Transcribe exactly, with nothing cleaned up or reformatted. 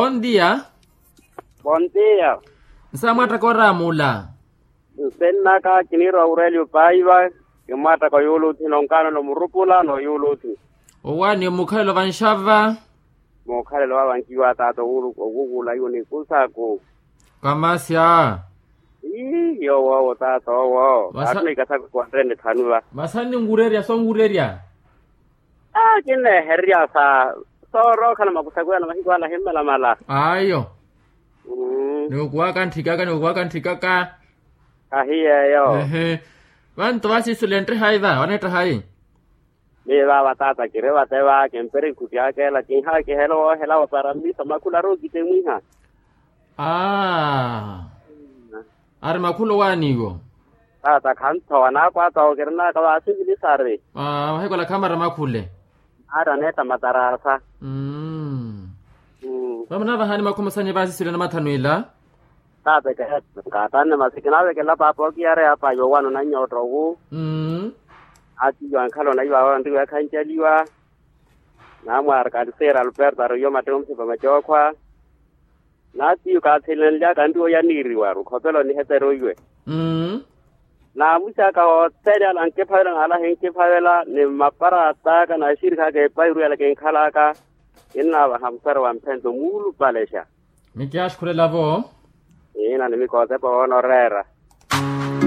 Bondia. Bondia. Nsamwattaka oraamula. Nsennaka kiniira wa urelio paiva. Kimwattaka yuuluthi nonkaano nomurupula no yuuluthi. Owaani omukhalelo vanxava. Muukhalelo wa vanxiwa taata owukuula iwo nikusaku. Kamasya. Ii yowoowo taata owo. Vasa- taata nikasaku kuwanrene thanu va. Vasa ninwurerya sonwurerya. Aa kinneehererya sa soorookhala makusakwela mahiku ala ahimmalamala. Ayo. Niwukuwaka ntthikaka niwukuwaka ntthikaka. Ahiyeeyo. Ehe. Vantu vasiisule ntte hayi va waneetta hayi? Miyo vaava taata kiri vate va kimpiri nkhuti aka ela kinhaakihela owoohela wa para mmiso makhula ari okitemwiha. Aa. Ari makhula owaaniwo. Taata khanthowa naakwaata owo kirinaka vaasivilisari. Aa vahekola khamara makhule. Ari aneetta matarasa. Vamunavahani makhumusanye vaasiswile namathanu ila. Taata eke nkaatanne masi kinaavekela paapa okiyareya apa yoowano nanyootto owu. Atiyo ankhala onaiva awo anriwa yakhanjaliwa. Naamwaari kaliseera alberto ariyo mattewo musipa macookhwa. Naatiyo kaathilenlyaka anriwa oyaniiriwaru khopela onihetera oiwe. Naamusi aka othene ala nkiphavela naalahi nkiphavela ni mmaparaat'aka na axirikhi aka epahiru yala kinkhalaka. Kinnaavaha musari wa mphento muulupalexa. Mikiaxikhulela-vo. Iina ni mikootepa woona oreera.